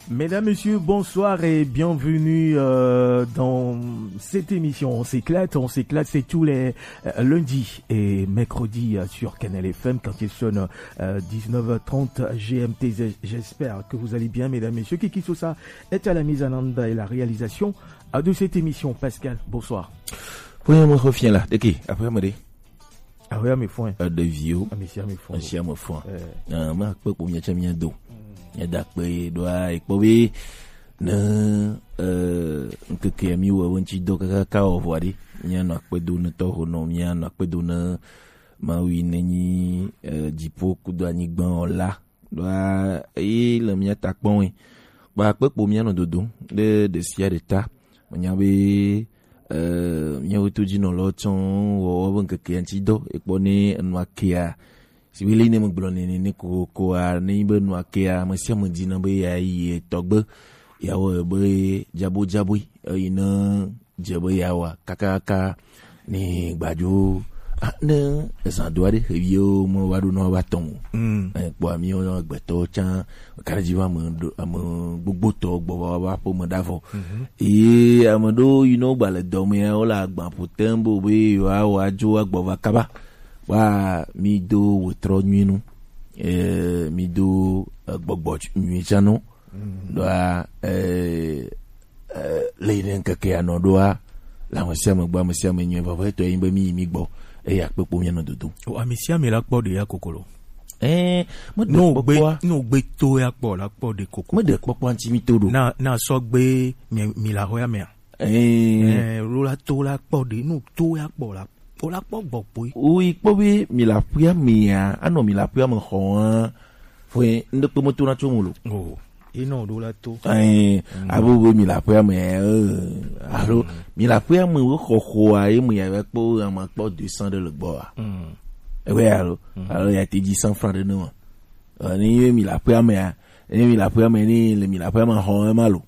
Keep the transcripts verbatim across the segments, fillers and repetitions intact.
Mesdames, Messieurs, bonsoir et bienvenue euh, dans cette émission. On s'éclate, on s'éclate, c'est tous les euh, lundis et mercredis euh, sur Canal F M quand il sonne euh, dix-neuf heures trente G M T. J'espère que vous allez bien, mesdames, messieurs. Kiki Sosa est à la mise en onde et la réalisation euh, de cette émission. Pascal, bonsoir. Oui, mon refien là. De qui? Après, me dit. Awe ame fɔe. Ɖeviwo. Ame sia ame fɔe. Ame sia ame fɔe. Eh. Ah, ma kpe kpo mia tsa mia do. Mia da kpe ɖoa ekpɔ be ne eh, ŋkeke mi wɔ wo ŋtsi dɔ kaka ka wɔ vɔ ɖe. Mia nɔ akpe do ne tɔho nɔ, mia nɔ akpe do ne Mawu yi ne nyi eh, dziƒo kudo anyigba wɔ la. Ɖoa eye le mía ta kpɔm ɛ. Kpa kpekpo mía nɔ dodom ɖe ɖe sia ɖe ta. Menya be eh, míawo to dzi nɔlawo tsɔ wɔwɔ be ŋkeke ya ŋuti dɔ ekpɔ ne enua kea. Si be le ne megblɔ nene ne kokoa ne nyi be enua kea ame sia ame dina be ya yi etɔgbe ya wɔ be dzabo dzaboe eyi ne dze be yeawɔa kakaka ne gbadzo ah, ne ezã do aɖe xeviwo meva ɖo na woƒe atɔ̃ o. Mm. Eh, kpɔa míwo agbetɔwo tsã kaɖedzi va ame ɖo- ame gbogbotɔ gbɔ va woƒe aƒeme ɖa vɔ. Mhm. Eye ame ɖewo yi ne wogba le dɔ mea wole agba ƒo tem be wobe yewoawɔ adzo agbɔ va kaba. Kpɔa mído wetrɔ nyui nu. Eh, mído eh, gbɔgbɔ nyui tsã nu. Ɖoa eh, eh, le yi ne ŋkeke ya nɔ ɖoa le ame sia ame gbɔ, ame sia ame nyuie vavɛ tɔ yin be mi yi mi gbɔ eye akpekpo mia nɔ dodo. O ame sia ame la kpɔ ɖe ya kokolo. Eh, me de no gbe kpɔkpɔa. No gbe to ya kpɔ la kpɔ ɖe koko. Me de kpɔkpɔa ŋuti mi to ɖo. Na na sɔ gbe mi mi la hɔ ya mea. Eh, Eh, lo la to la kpɔ ɖe no to ya kpɔ la o la kpɔ gbɔ kpoe. Wo yi kpɔ be mi la ƒea mea anɔ mi la ƒea me xɔ hã. Fue ŋɖe kpe meto na tso mo lo. O yi nɔ ɖo la to. Ɛɛ abo be mi la ƒea me ɛɛ alo mi la ƒea me wo xɔxɔa ye me ya kpɔ ame kpɔ deux cents ɖe le gbɔa. Ebe alo alo ya te dzi cent francs ɖe ne ma. Ɛ, ne ye mi la ƒea me ya ne mi la ƒea me ne le mi la ƒea me xɔ ema lo.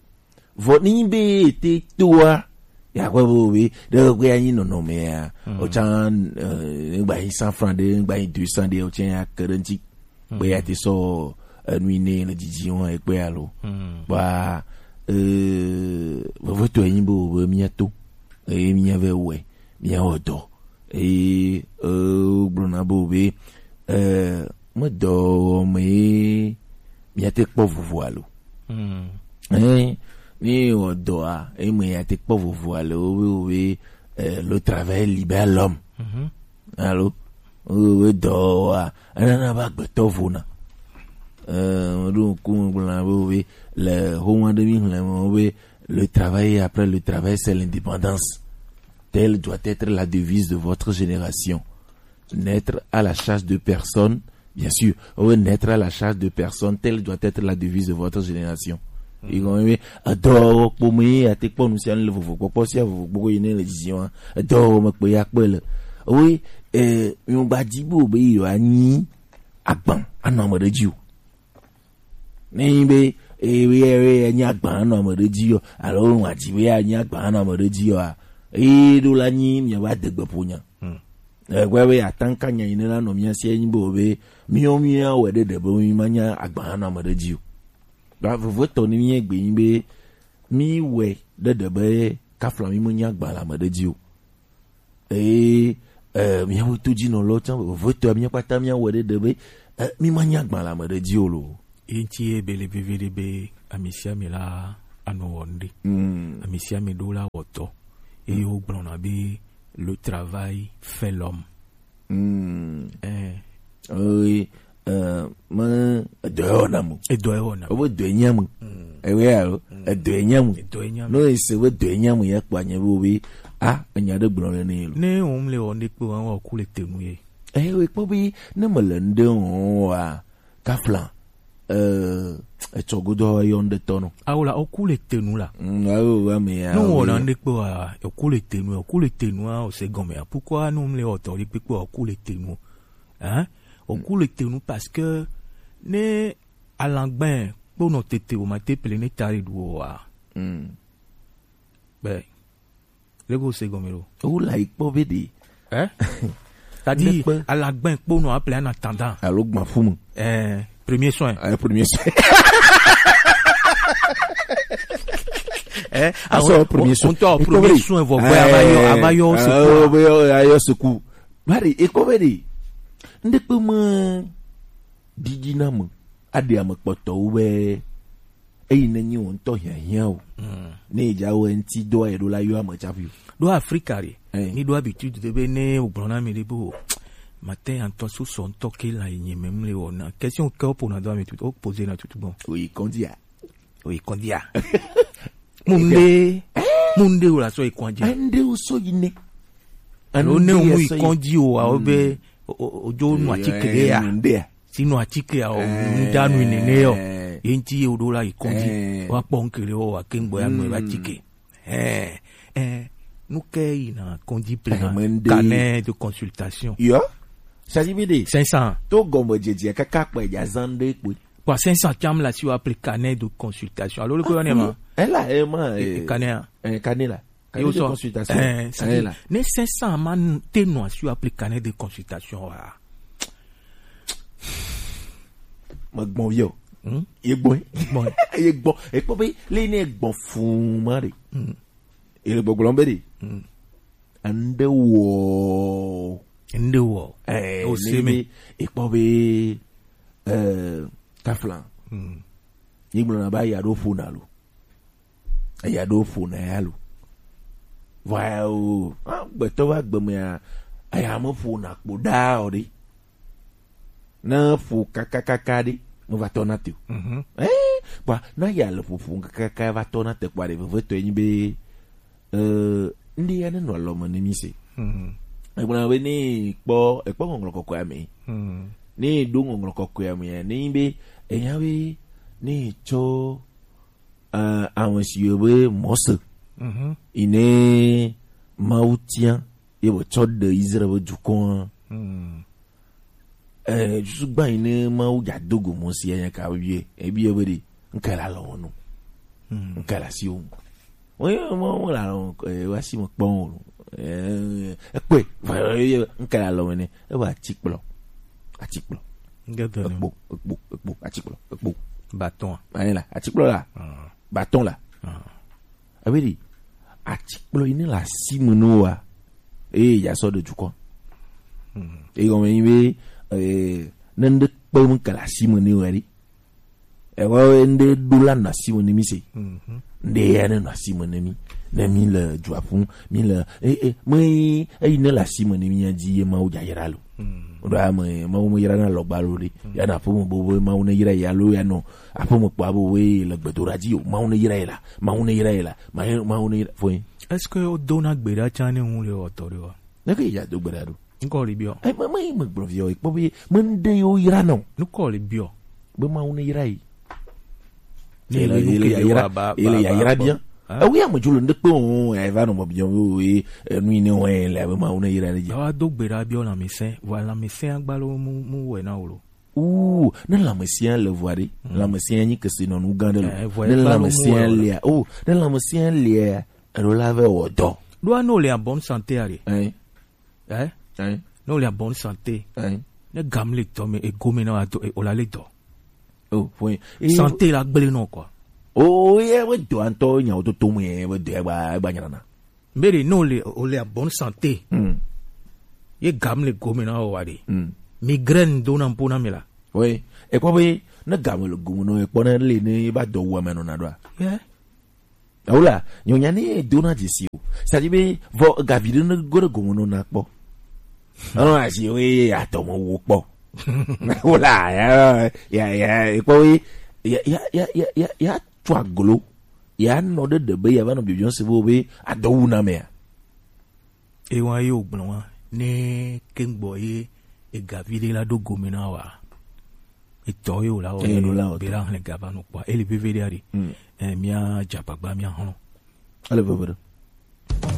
Vɔ ni be te toa ya kpɔ be be ɖe kpe ya nyi nɔnɔme ya o tsa ne gba yi cent francs ɖe ne gba yi deux cents ɖe o tsa ya ke ɖe ŋuti. Kpe ya te sɔ enu yi ne le didi wɔn ekpe alo. Ba eh vevetɔ enyi be o be mia to eye mia vɛ wɔe mia wɔ dɔ eye eh gblɔna be o be eh me dɔ me ye mia te kpɔ vovo alo. Ɛɛ ne wɔ dɔa eye me ya te kpɔ vovo alo o be o be eh, le travail libère l'homme. Alo woe dɔ wa enana va gbetɔ vona. Meɖo ŋku megblɔna be woe le homo aɖe mi xlẽ me wobe le travail après le travail c'est l'indépendance. Telle doit être la devise de votre génération. Naître à la charge de personne. Bien sûr, wobe naître à la charge de personne, telle doit être la devise de votre génération. Yi gɔme be edɔwɔwɔ kpome ye ate kpɔ nu sia nu le vovo kpɔkpɔ sia vovo kpɔkpɔ yi ne le dziziɔ wa edɔwɔwɔ me kpe ya kpe le. Owe eh mi gba di bo be yo anyi agban anɔ ame ɖe dzi o. Ne yi be eh be eh be anyi agban anɔ ame ɖe dzi o alo wa di be anyi agban anɔ ame ɖe dzi o a. Eh ɖo la nyi mi va de gbe ƒo nya. Egbe be atanka nya yi ne la nɔ mia sia nyi bo be miɔ mia wɛ ɖe ɖe be mi ma nya agban anɔ ame ɖe dzi o. Ba vovo tɔ ni mi egbe nyi be mi wɛ ɖe ɖe be kafla mi me nya agban le ame ɖe dzi o. Eye eh, miawo to dzi nɔ lɔ tsã vovo tɔ mia kpata mia wɛ ɖe ɖe be eh, mi ma nya agban le ame ɖe dzi o lo. Ye ŋuti ye be le veve ɖe be ame sia ame la anɔ wɔ nu ɖe. Ame sia ame ɖo la wɔ tɔ. Eye wogblɔna be le travail fait l'homme. Mm. Eh. Oui, euh, me edɔ yɔ na mo. Edɔ yɔ na. Obo dɔ nya mo. Ewe alo edɔ nya mo. Edɔ nya mo. No ese we dɔ nya mo ya kpa nya bo be ah enya de gblɔ le ne lo. Ne o mle o ne kpe wa o ku le tenu ye. Eh we kpɔ be ne me le nde o wa kafla eh etsɔ godo yɔ nde tɔ no. Awo la o ku le tenu la. Mm, awo wa me ya. No o la nde kpe wa o ku le tenu o ku le tenu a o se gɔme a pourquoi no mle o tɔ de kpe o ku le tenu. Hein? O ku le tenu parce que ne alangben kpo no tete o ma te pele ne tari du o wa. Mm. Be lego se gɔme lo. Wo la yi kpɔ be de. Eh? C'est-à-dire alagben kpo no appelé en attendant. Alo gba fumu. Eh, premier soin. Eh, premier soin. Eh, aso premier soin. On to premier soin, vo boy, ava yo, ava yo secours. Ava yo secours. Bari, e ko be de. Nde pe ma didi na mo. Ade ame kpɔtɔwo be eyi ne nyi wo ŋutɔ hiahiã o. Ne edza wo ŋuti dɔ eɖo la yɔ ame tsaƒi o. Ɖo Afrika ɖe, mi ɖo habitude de be ne wogblɔ na mi ɖe be o, mate ŋutɔ so sɔ ŋutɔ ke la yi nye mem le wɔna. Question ke woƒona do ame tutu, wopoze na tutu gbɔn. Oyi kɔndia. Oyi kɔndia. Munde, munde wo la sɔ yi kɔndia. Ande wo sɔ yi ne. Alo ne wo mu yi kɔndia o, awo be o, o, ojo nu atike ɖe ya. Sinu atike a o, nudanu nene yɔ. Ye ŋuti ye woɖo la yi kɔdzi. Woakpɔ ŋkele wɔ wa ke ŋgbɔ ya ŋmɛ va tike. Eh, eh, nu ke yina kɔdzi plena. Carnet de consultation. Yo. Sadi bi de. Cinq cents. To gɔme dzedzia kaka kpɛ dza zan ɖe kpɔe. Kpɔ cinq cents tsam la si wa ple carnet de consultation. Alo le ko yɔ ne ma. Ela ema. Carnet a. Eh, carnet la. Carnet de consultation. Eh, c'est-à-dire, ne cinq cents ma n-, te nɔ asi appli carnet de consultation wa. Ma gbɔn viɔ. Hmm? Ye gbɔn. Gbɔn. Ye gbɔn. E kpɔ be le ne gbɔn fun ma de. Hmm. E le gbɔgblɔn be de. Hmm. Ande wɔ. Ande wɔ. Eh, o se me. E kpɔ be, eh, kaflan. Hmm. Ye gblɔ na ba ya ɖo fun na lo. Eya ɖo ƒona ya lo. Vɔa o, a, gbetɔ va gbe mea, eya me ƒona kpo ɖaa o ɖe. Ne ƒo kakakaka ɖe, me va tɔ na te o. Mhm. Eh, kpɔa, na ya le ƒoƒo kakaka va tɔ na te kpɔa ɖe, vevetɔ enyi be, eh, ŋɖe ya ne nɔ alɔme ne mi se. Mhm. Egblɔna be ne kpɔ, ekpɔ ŋɔŋlɔ kɔkɔe ame. Mhm. Ne ɖo ŋɔŋlɔ kɔkɔe ame, ne nyi be, enya be, ne tsɔ eh, ame siwo be Mose, mhm, yi ne Mawu tia, ye be tsɔ ɖe Israel be dukɔa. Hmm. Eh, susu gba yi ne Mawu dza do go Mose ya nya ka bie, ebie be de, nka la lɔ no. Hmm. Nka la si o. Wo ye mo, mo la lɔ, eh, wa si mo kpɔn o. Eh, ekpe, va, eh, nka la lɔ ne, e wa atikplɔ. Atikplɔ. Nge do ne. Ekpo, ekpo, ekpo, atikplɔ, ekpo. Bâton. Ayi la, atikplɔ la. Ah. Bâton la. Ah. Abe ɖi, atikplɔ yi ne le asi me ne woa, eye ya sɔ ɖe dukɔ. Hmm. Eye gɔme yi be, eh, ne ŋɖe kpe ŋu ke le asi me ne woa ɖi. Ewa ŋɖe ɖo la nɔ asi me ne mi se. Mhm. Ŋɖe ya ne nɔ asi me ne mi. Ne mi le dua ƒum, mi le, eh, eh, me eyi ne le asi me ne mi ya dzi ye Mawu dza yra lo. Hmm. Ɖo ame, Mawu me yra na lɔgba lo ɖe. Hmm. Ya na ƒome bo be Mawu ne yra ya lo ya nɔ. Aƒeme kpɔ abo we le gbedoɖa dzi o. Mawu ne yra ye la. Mawu ne yra ye la. Mawu, Mawu ne yra. Fɔe. Est-ce que wodona gbe ɖa tsã ne ŋu le wɔtɔ ɖe wa? Ne ke ya do gbe ɖa ɖo. Ŋkɔ le biɔ. Ai, me, me, me gblɔ viɔ, kpɔ be, me ŋɖe yo yra nɔ. Ŋkɔ le biɔ. Be Mawu ne yra ye. Ne ele, ele, ele ya yra, ele ya yra biɔ. Hein? Ewi ame dzolo ŋɖe kpe o, ya va nɔ me biɔ, o, e, enu yi ne wɔe le abe Mawu ne yra ɖe dzi. Awa do gbe ɖa biɔ lãmesẽ, vɔ lãmesẽ agbalo mu, mu wɛ na wo lo. Ooh, ne lãmesẽa le vɔa ɖe, mm, lãmesẽa nyi kesinɔnu gã ɖe lo. Eh, vɔa ne lãmesẽa lea, oh, ne lãmesẽa lea, eɖo la vɛ wɔ dɔ. Ɖoa ne wòle en bonne santé a ɖe. Hein? Eh? Hein? Ne wòle en bonne santé. Hein? Ne gam le dɔ me, ego me na wa dɔ, e, o la le dɔ. Oh, fɔe. Santé la gblẽ nɔ quoi. Oh, ye, we dɔ ŋutɔ nyawo toto me, we dɔ ya gba, gba nyana. Mbere, ne wòle, wòle en bonne santé. Hmm. Ye gam le gome na wa ɖe. Hmm. Migraine do na ŋpo na mi la. Oui. Ekpɔ be, ne gam le gome nɔ, ekpɔ ne le ne ba dɔ wu ame nɔ na ɖoa. Yeah. Awo la, nyonya ne do na dzesi o. C'est-à-dire be, vɔ gavi ɖe ne go ɖe gome nɔ na kpɔ. Ɔnɔ asi wo ye atɔ mo wo kpɔ. Wo la, ya, ya, ya, ekpɔ wo ye, ya, ya, ya, ya, ya, ya, tu aglo. Ya nɔ ɖe ɖe be ya va nɔ bibiɔ se bo be adɔ wu na mea. Ewa ye o gblɔ wa, ne kengbo ye egavi ɖe la ɖo gome na wa. Etɔ ye o la wɔ. Eye ɖo la wɔ be tɔ. La hlẽ gaba nɔ kpɔ. Eli veve ɖe ari. Mm. Eh, mia dza agbagba mia hlɔ̃. Ele veve ɖe.